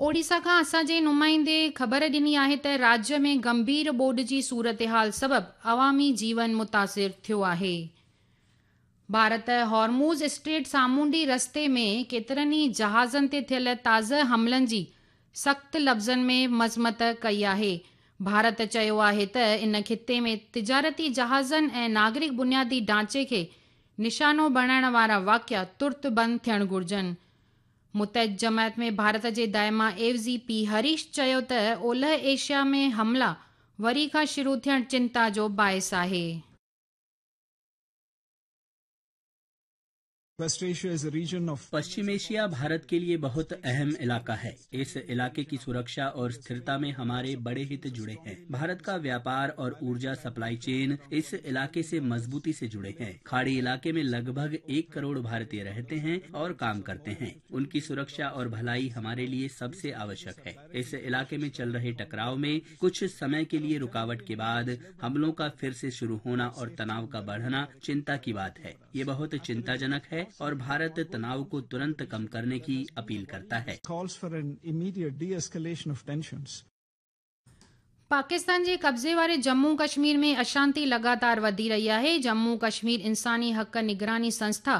اوڙيسا کان اسان جي نمائندي خبر ڏني آهي ته راجيه ۾ گنڀير ٻوڏ جي صورتحال سبب عوامي جيون متاثر ٿيو آهي. ڀارت هارموز اسٽريٽ سامونڊي رستي ۾ ڪيترن ئي جهازن تي ٿيل تازه حملن جي سخت لفظن ۾ مذمت ڪئي آهي. ڀارت چيو آهي ته ان خطي ۾ تجارتي جهازن ۽ ناگرڪ بنيادي ڍانچي کي نشانو بڻائڻ وارا واقعا ترت بند ٿيڻ گهرجن. متحد جماعت ۾ ڀارت جي دائما عيوضي پي هريش چيو ته اولهه ايشيا ۾ حملا وري کان شروع ٿيڻ چنتا جو باعث آهي. West Asia is a region of. Paschim Asia Bharat के लिए बहुत अहम इलाका है। इस इलाके की सुरक्षा और स्थिरता में हमारे बड़े हित जुड़े हैं। भारत का व्यापार और ऊर्जा सप्लाई चेन इस इलाके से मजबूती से जुड़े हैं। खाड़ी इलाके में लगभग 1 करोड़ भारतीय रहते हैं और काम करते हैं। उनकी सुरक्षा और भलाई हमारे लिए सबसे आवश्यक है। इस इलाके में चल रहे टकराव में कुछ समय के लिए रुकावट के बाद हमलों का फिर से शुरू होना और तनाव का बढ़ना चिंता की बात है। ये बहुत चिंताजनक है और भारत तनाव को तुरंत कम करने की अपील करता है। Calls for an immediate de-escalation of tensions. Pakistan جي قبضي واري ڄمون ڪشمير ۾ اشانتي لڳاتار وڌي رهي آهي. ڄمون ڪشمير انساني حق نگراني سنسٿا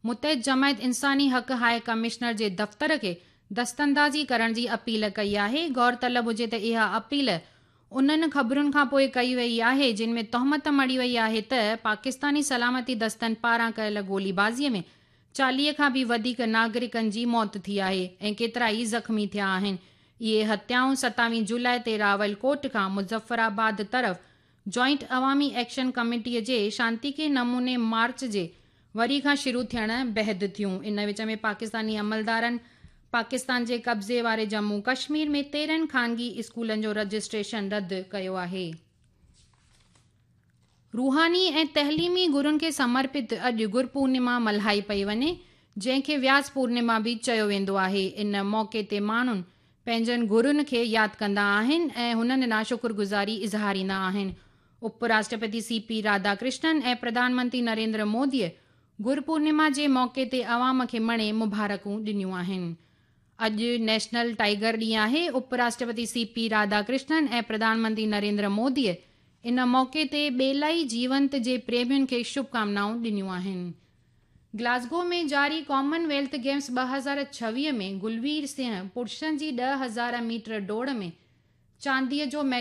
متحد جماعت انساني حق هاء ڪمشنر جي دفتر کي دستاندازي ڪرڻ جي اپيل ڪئي آهي. غور طلب هجي ته اها اپيل انهن خبرن کانپوء ڪئي وئي آهي جن ۾ تهمت مڙهي وئي آهي ته پاڪستاني سلامتي دستن پاران ڪيل گولي بازي ۾ 40 کان به وڌيڪ ناگرڪن جي موت ٿي آهي ۽ ڪيترائي زخمي ٿيا آهن. اهي هتيائون 27 جولاء تي راول ڪوٽ کان مظفر آباد طرف جوائنٽ عوامي ايڪشن ڪميٽي جي شانتيڪي نموني مارچ جي وري کان شروع ٿيڻ بعد ٿيون. ان وچ ۾ پاڪستاني عملدارن پاڪستان جي قبضي واري ڄمون ڪشمير ۾ 13 خانگي اسڪولن جو رجسٽريشن رد ڪيو آهي. روحاني ۽ تعليمي گرن کي سمرپت اڄ گر پورنما ملهائي پئي وڃي، جنهن کي وياس پورنما به چيو ويندو آهي. ان موقعي تي ماڻهن پنهنجن گرن کي ياد ڪندا آهن ۽ هنن ڏانهن شڪرگذاري اظهاريندا آهن. اپ راشٽرپتي سي پي راڌا ڪرشنن ۽ پرڌان منتري نريندر موديء گر پورنما جي موقعي تي عوام کي مڻي مبارڪون ڏنيون آهن. اڄ نيشنل ٽائيگر ڏينهن آهي. اپ راشٽرپتي سي پي راڌا ڪرشنن ۽ پرڌان منتري نريندر موديء ان موقعي تي ٻيلائي جيونت جي پريمين کي شڀڪامنائون ڏنيون آهن. گلاسگو ۾ جاري ڪامن ويلٿ گيمز 2026 ۾ گلوير سنگهه پرشن جي 10,000 ميٽر ڊوڙ ۾ چانديء جو ميڊل.